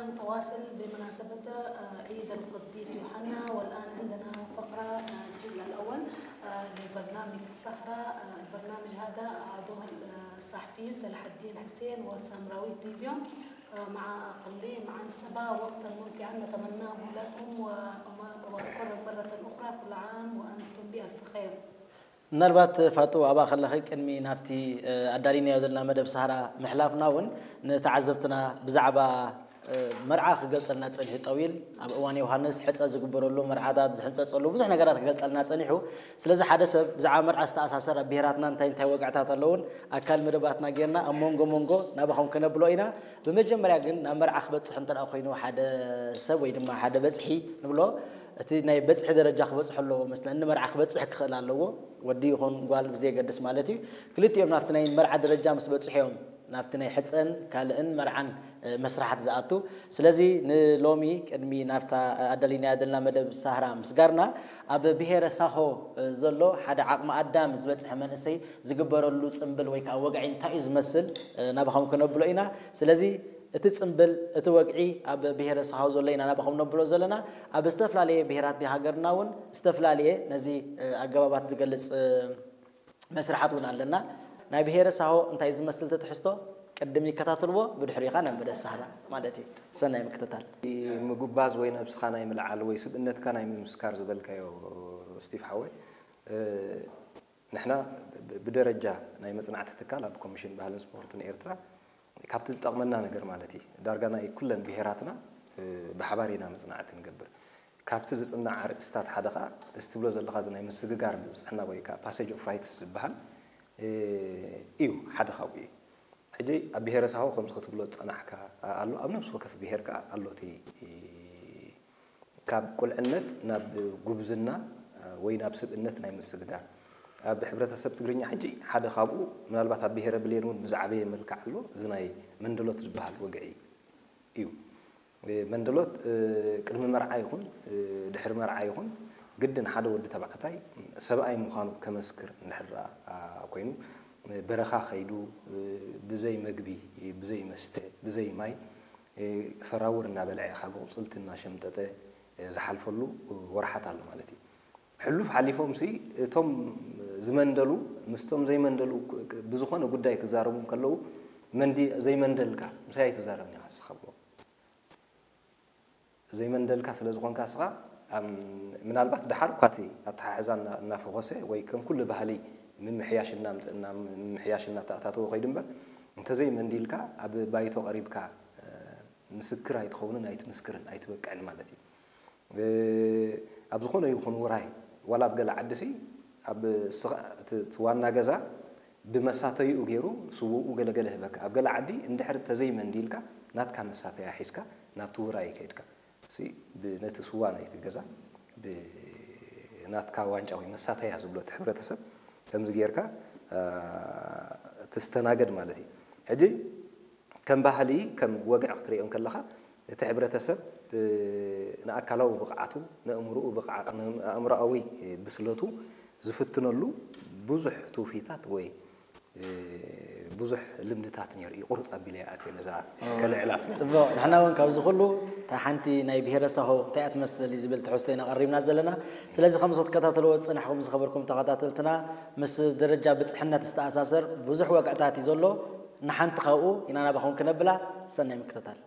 نتواصل بمناسبة، آه، عيد القديس يوحنا، والآن عندنا فقرة، آه، الجزء الأول، آه، لبرنامج السهرة. آه، البرنامج هذا عضوه، آه، الصحفيين صلاح الدين حسين وسامراويت ديبيون، آه، مع أقليم عنسبة. وقتا ممتعا نتمناه لكم، وأما-، وأكرر مرة أخرى كل عام وأنتم بألف خير. ምናልባት ፋጡ ኣብኣ ከለኺ ቅድሚ ናብቲ ኣዳሊናዮ ዘለና መደብ ሳህራ ምሕላፍና እውን ንተዓዘብትና ብዛዕባ መርዓ ክገልፀልና ፀኒሑ። ጠዊል ኣብ እዋን ዮሃንስ ሕፀ ዝግበረሉ፣ መርዓታት ዝሕንፀፀሉ ብዙሕ ነገራት ክገልፀልና ፀኒሑ። ስለዚ ሓደ ሰብ ብዛዕባ መርዓ ዝተኣሳሰር ኣብ ብሄራትና እንታይ እንታይ ወግዕታት ኣለውን ኣካል መደባትና ጌርና ኣብ መንጎ መንጎ ናባኹም ክነብሎ ኢና። ብመጀመርያ ግን ናብ መርዓ ክበፅሕ እንተ ኮይኑ ሓደ ሰብ ወይ ድማ ሓደ በፅሒ ንብሎ እቲ ናይ በፅሒ ደረጃ ክበፅሑ ኣለዎ መስለኒ። ንመርዓ ክበፅሕ ክኽእል ኣለዎ፣ ወዲ ይኹን ጓል ብዘየገድስ ማለት እዩ። ክልቲኦም ናብቲ ናይ መርዓ ደረጃ ምስ በፅሑ እዮም ናብቲ ናይ ሕፀን ካልእን መርዓን መስራሓት ዝኣቱ። ስለዚ ንሎሚ ቅድሚ ናብታ ኣዳሊናያ ዘለና መደብ ሳህራ ምስጋርና፣ ኣብ ብሄረ ሳሆ ዘሎ ሓደ ዓቕሚ ኣዳም ዝበፅሐ መንእሰይ ዝግበረሉ ፅምብል ወይ ከዓ ወግዒ እንታይ እዩ ዝመስል ናባኹም ክነብሎ ኢና። ስለዚ እቲ ፅምብል እቲ ወግዒ ኣብ ብሄረ ሳሆ ዘሎ ኢና ናባኹም ነብሎ ዘለና። ኣብ ዝተፈላለየ ብሄራት ሃገርና እውን ዝተፈላለየ ነዚ ኣገባባት ዝገልፅ መስርሓት እውን ኣለና። ናይ ብሄረ ሳሆ እንታይ ዝመስል ትሕዝቶ ቅድም ይከታተልዎ፣ ብድሕሪኻ ናብ መደብ ሳህራ ማለት እዩ። ሰናይ ምክትታል። ምጉባዝ ወይ ነብስኻ ናይ ምልዓል ወይ ስብእነትካ ናይ ምምስካር ዝበልካዮ፣ ስቲፍ ሓወይ፣ ንሕና ብደረጃ ናይ መፅናዕቲ ትካል ኣብ ኮሚሽን ባህልን ስፖርትን ኤርትራ ካብቲ ዝጠቕመና ነገር ማለት እዩ፣ ዳርጋ ናይ ኩለን ብሄራትና ብሓባር ኢና መፅናዕቲ ንገብር። ካብቲ ዝፅናዕ ኣርእስታት ሓደ ከዓ እዚ ትብሎ ዘለካ እዚ ናይ ምስግጋር ብብፅሕና ወይ ከዓ ፓሴጅ ኦፍ ራይትስ ዝበሃል እዩ፣ ሓደ ካብኡ እዩ። ሕጂ ኣብ ብሄረ ሳሆ ከምዚ ክትብሎ ዝፀናሕካ ኣሎ፣ ኣብ ነብሲ ወከፍ ብሄር ከዓ ኣሎ እቲ ካብ ቁልዕነት ናብ ጉብዝና ወይ ናብ ስብእነት ናይ ምስግጋር። ኣብ ሕብረተሰብ ትግርኛ ሕጂ ሓደ ካብኡ ምናልባት ኣብ ብሄረ ብሌን እውን ብዝዓበየ መልክዕ ኣሎ፣ እዚ ናይ መንደሎት ዝበሃል ወግዒ እዩ። መንደሎት ቅድሚ መርዓ ይኹን ድሕሪ መርዓ ይኹን ግድን ሓደ ወዲ ተባዕታይ ሰብኣይ ምዃኑ ከመስክር እንድሕር ኮይኑ በረኻ ከይዱ ብዘይ መግቢ፣ ብዘይ መስተ፣ ብዘይ ማይ ሰራውር እናበልዐ ካብ ኣቑፅልቲ እናሸምጠጠ ዝሓልፈሉ ወርሓት ኣሎ ማለት እዩ። ሕሉፍ ሓሊፎም ሲ እቶም ዝመንደሉ ምስቶም ዘይመንደሉ ብዝኾነ ጉዳይ ክዛረቡ ከለዉ መንዲ ዘይመንደልካ ምሳይ ኣይትዛረብን ኢኻ ንስኻ ብሎ ዘይመንደልካ ስለ ዝኾንካ ንስኻ ምናልባት ደሓር እኳ እቲ ኣተሓሕዛ እናፈኾሰ ወይ ከም ኩሉ ባህሊ ምምሕያሽ እናምፅእና ምምሕያሽ እናተኣታተወ ከይዱ እምበር እንተዘይመንዲልካ ኣብ ባይቶ ቀሪብካ ምስክር ኣይትኸውንን ኣይትምስክርን ኣይትበቅዕን ማለት እዩ። ኣብ ዝኾነ ይኹን ውራይ ዋላ ኣብ ገለ ዓዲ ሲ ኣብ ዋና ገዛ ብመሳተይኡ ገይሩ ስውኡ ገለገለ ህበካ። ኣብ ገለ ዓዲ እንድሕር ተዘይመንዲልካ ናትካ መሳተያ ሒዝካ ናብቲ ውራይ ከይድካ ሲ ነቲ ስዋ ናይቲ ገዛ ብናትካ ዋንጫ ወይ መሳተያ ዝብሎ እቲ ሕብረተሰብ ከምዚ ጌርካ ትስተናገድ ማለት እዩ። ሕጂ ከም ባህሊ ከም ወግዒ ክትሪኦ ከለኻ እቲ ሕብረተሰብ ንኣካላዊ ብቕዓቱ ንእምርኡ ብቕዓት ንኣእምሮኣዊ ብስለቱ ዝፍትነሉ ብዙሕ ትውፊታት ወይ ብዙሕ ልምድታት ነይሩ እዩ። ቁርፅ ኣቢለ ይኣትየ ነዛ ከልዕላ ስለ ፅቡቕ። ንሕና እውን ካብዚ ኩሉ እታ ሓንቲ ናይ ብሄረ ሳሆ እንታይ እያ ትመስል ዝብል ትሕዝቶ ኢና ቀሪብና ዘለና። ስለዚ ከምዚ ክትከታተልዎ ዝፀናሕኩም ዝኸበርኩም ተኸታተልትና ምስ ደረጃ ብፅሕነት ዝተኣሳሰር ብዙሕ ወግዕታት እዩ ዘሎ። ንሓንቲ ካብኡ ኢና ናባኹም ክነብላ። ሰናይ ምክትታል።